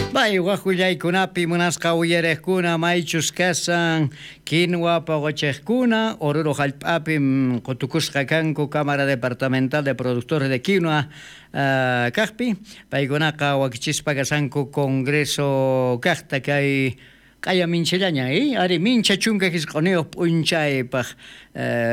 Bay waj willaykunapi munasqa uyariqkuna maychus kasan quinua poqochiqkuna Oruro hallp'api qutukusqa kanku Cámara Departamental de Productores de Quinua kaqpi paykunaqa wakichispa kasanku Congreso kaqta kay q'aya minchallaña ari mincha 19 p'unchaypaq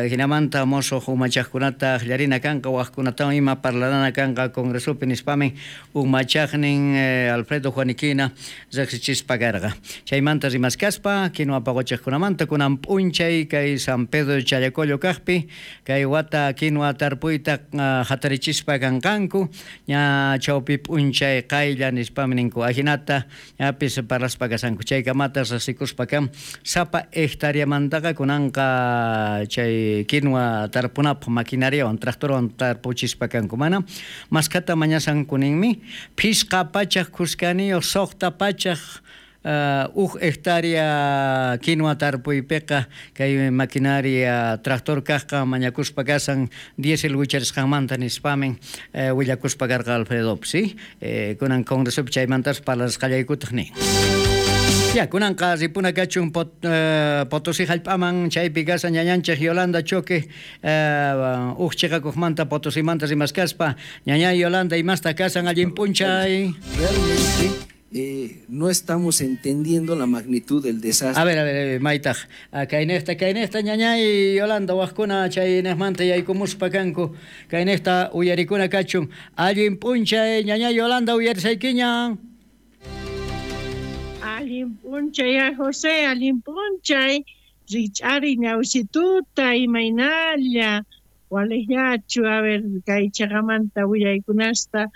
hinamanta mosoq umachaqkunata aqllarina kanqa waqkunatawan ima parlarana kanqa Congresopi nispamin umachaqnin Alfredo Juaniquina riqsichispa karqa chaymanta rimaskaspa quinua poqochiqkunamanta kunan p'unchay kay San Pedro Challacollo kaqpi kay wata quinua tarpuyta hatarichispa kanqanku ña chawpi p'unchay qaylla nispamin ninku ajinata ñapis parlaspa kasanku chaykamata riqsikuspa kan sapa hectareamantaqa kunanqa chay quinua tarpunapaq maquinariawan tractorwan tarpuchispa kanku mana maskhata mañasanku ninmi 560 600 uj hectárea quinua tarpuypiqa kay maquinaria tractor kaqqa mañakuspa kasan diésel wicharisqanmanta nispamin willakuspa karqa Alfredo ¿sí? Kunan congresopi chaymantas parlasqallaykutaq nin. Ya, kunanqa ripuna kachun Potosí hallp'aman chaypi kasan ñañanchik Yolanda Choque uj chiqakuqmanta Potosimanta rimaskaspa ñaña Yolanda imasta kasan allin p'unchay. Realmente no estamos entendiendo la magnitud del desastre. A ver, maytaq kaynejta ñañay Yolanda waqkuna chaynejmanta yaykumuspa kanku kaynejta uyarikuna kachun allin p'unchay ñañay Yolanda uyarisaykiña. Allin p'unchay José, allin p'unchay rich'ari ñawsituta imaynalla waliqllachu a ver kay chaqamanta willaykunasta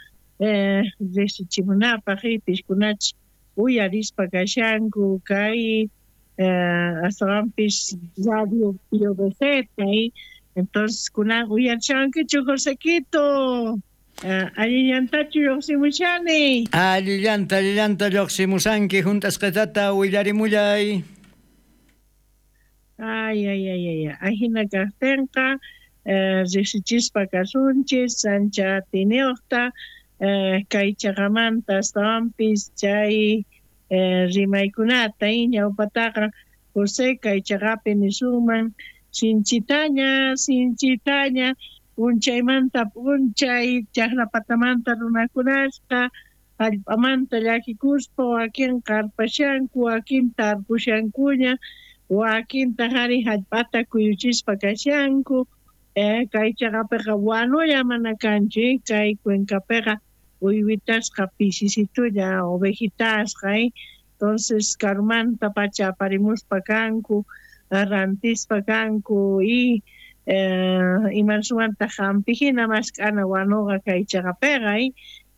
riqsichimunapaq piskunach uyarispa kashanku kay astawanpis radio PVC entonces kunan uyarishankichu Josequito. Allillantachu lluqsimushani. Allillanta lluqsimusanki hunt'asqatata willarimullay. Ay ajina kaqtinqa riqsichispa kasunchis ancha atiniuqta kay chaqamanta astawanpis chay rimaykunata ñawpataqa José kay chaqapi nisunman sinchitaña p'unchaymanta p'unchay chaqrapatamanta runakunasqa hallp'amanta llakikuspa wakin qarpashanku wakin tarpushankuña wakintaq ari hallp'ata kuyuchispa kashanku kay chaqapiqa wanulla mana kanchu kay cuencapiqa uywitasqa pisisitulla ovejitasqa entonces karumanta pacha aparimuspa kanku rantispa kanku y imansuwanta hampijina mask'ana wanuqa kay chaqapiqa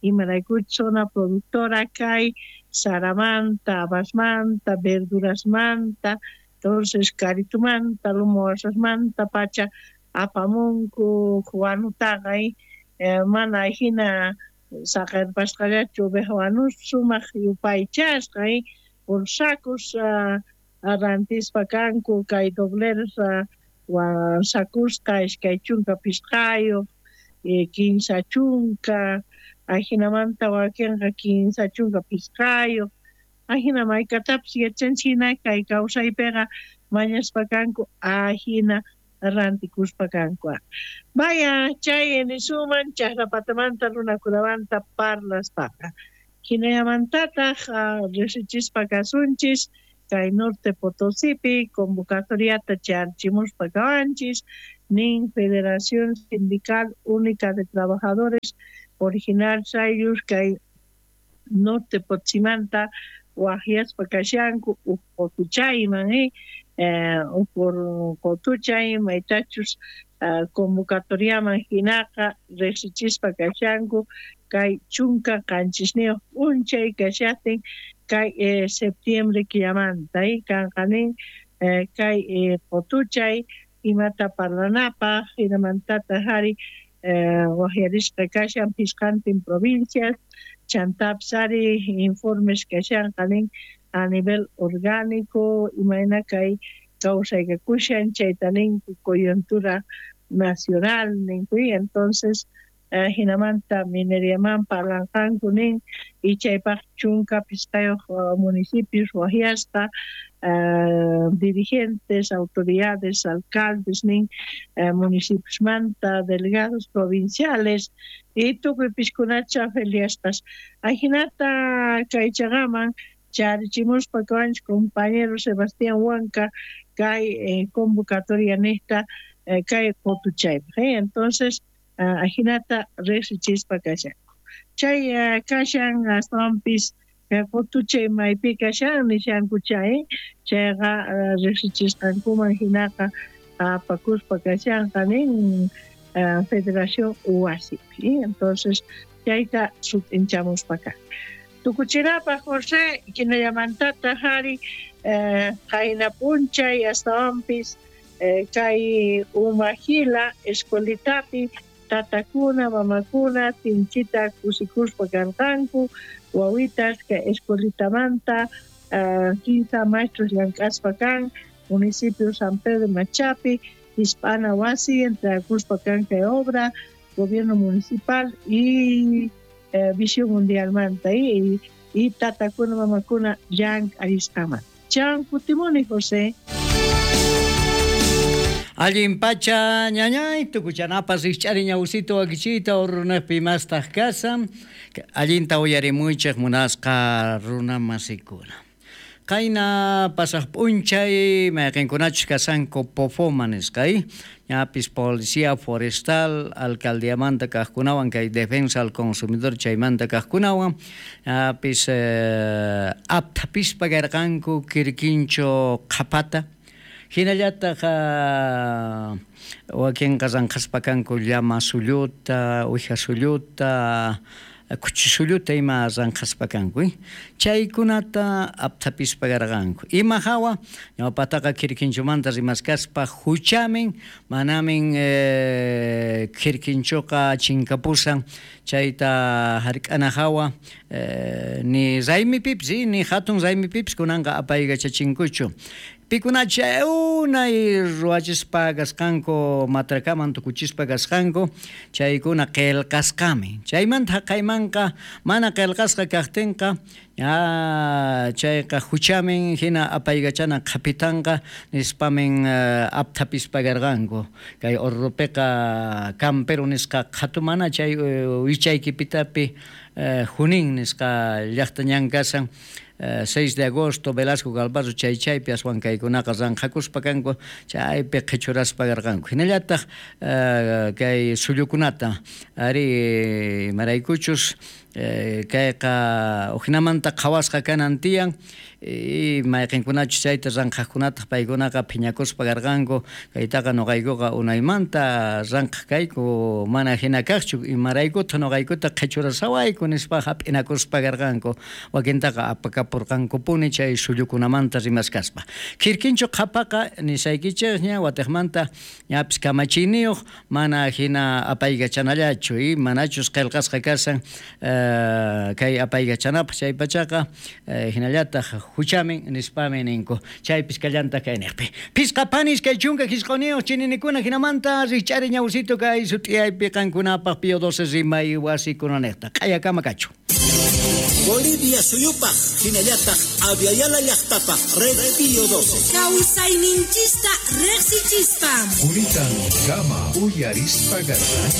imaraykuch zona productora kay saramanta, habasmanta, verdurasmanta, entonces karitumanta, lumo wasasmanta pacha apamunku wanutaqa mana hina saqerpasqallachu oveja wanus sumaq yupaychasqa por sacos rantispa kanku kay dobleros sakusqa 25, 30, ajinamanta wakinqa 35, ajina maykatapis yachanchik hina kay kawsaypiqa mañaspa kanku ajina rantikuspa kanku. Vaya chay nisuman chaqrapatamanta runakunamanta parlaspaqa. Hinallamantataq riqsichispa kasunchis kay Norte Potosipi convocatoriata charchimuspa kawanchis nin Federación Sindical Única de Trabajadores Original Sayus kay Norte Potosimanta waqyaspa kashanku uj qotuchayman uj qotuchay maytachus convocatoriaman hinaqa riqsichispa kashanku kay 17 p'unchay kashaqtin kay septiembre killamanta kanqa nin kay qotuchay imata parlanapaq hinamantataq ari waqyarisqa kashan pisqantin provincias chantapis ari informes kashanqa nin a nivel orgánico imayna kay kawsaykakushan chayta ninku coyuntura nacional ninku entonces Jinamanta mineriaman parlanqanku nin y chaypaq 15 municipios wajyasqa dirigentes, autoridades, alcaldes nin municipiosmanta, delegados provinciales y tukuy piskunacha feliaspas. Ajinata kaychaqaman charichimuspa kawanchik compañero Sebastián Huanca kay convocatoria nista kay qotuchaypaq. Entonces ajinata riqsichispa kashanku. Chay kashan astawanpis qotuchay maypi kashan nishanku chay chayqa riqsichisqankuman hinaqa apakuspa kashanqa nin Federación Wasipi. Entonces chayta sut'inchamuspa kan. Tukuchinapaq José kinallamantata hari qayna p'unchay astawanpis kay Umajila escuelitapi tatakuna mamakuna sinchita kusikuspa karqanku wawitas kay escuelitamanta 15 maestros llank'aspa kan municipio San Pedro Machapi Hispana wasi entregakuspa kan kay obra gobierno municipal y Visión Mundialmanta y tatakuna mamakuna llank'arisqamanta. Chan kutimuni José. Allin pacha ñañay tukuchanapas rikch'ari ñawsito wakichiyta urunaqpi mastaq kasan allinta uyarimuychik munasqa runa masikuna. Qayna pasaq p'unchay mayqinkunachus kasanku Pofoma nisqa ñapis policía forestal alcaldiamanta kaqkunawan kay defensa al consumidor chaymanta kaqkunawan ñapis aptapispa karqanku kirkincho qhapata hinallataq wakinqa ranqhaspa kanku llama sulluta, uwiha sulluta, kuchi sulluta ima ranqhaspa kanku chaykunata aptapispa karqanku. Ima hawa ñawpataqa kirkinchumanta rimaskaspa huchamin manamin kirkinchuqa chinkapusan chayta hark'ana hawa ni raymipipis ni hatun raymipipis kunanqa apaykachachinkuchu. Pikunacha unay ruwachispa kasqanku matrakaman tukuchispa kasqanku chaykuna qillqasqami. Chaymanta haqaymanqa mana qillqasqa kaqtinqa chayqa huchamin hina apaykachana qhapitanqa nispamin aptapispa karqanku. Kay Orrupiqa campero nisqa qhatumana chay wichaykipitapi Junín nisqa llaqta ñan kasan 6 de agosto Velasco Galvarro chay chaypi aswan kaykunaqa ranqhakuspa kanku chaypi qhichuraspa karqanku. Hinallataq kay sullukunata ari maraykuchus kayqa ujinamanta qhawasqa kanan tiyan y mayqinkunachus chayta ranqhaqkunataq paykunaqa phiñakuspa karqanku kaytaqa nuqaykuqa unaymanta ranqhaq kayku mana hina kaqchu imaraykutaq nuqaykuta qhichurasawayku nispa hap'inakuspa karqanku wakintaqa apakapurqankupuni chay sullukunamanta rimaskaspa. Kirkinchu qhapaqa nisaykichikña watiqmanta ñapis kamachiyniyuq mana hina apaykachanallachu y manachus qillqasqa kasan kay apaykachanapaq chay pachaqa hinallataq huchamin nispami ninku chaypis kallantaq kayniqpi. Pisqa panis kay 15 chininikuna hinamanta rikch'ari ñawsito kay sut'iyaypi qankunapaq Pío 12 rimay wasikunaniqta q'ayakama kachu. Bolivia suyupaq hinallataq Aviala llaqtapaq Red Pío 12. Kawsayninchista riqsichispa. Quritan kama uyarispa garqanchik.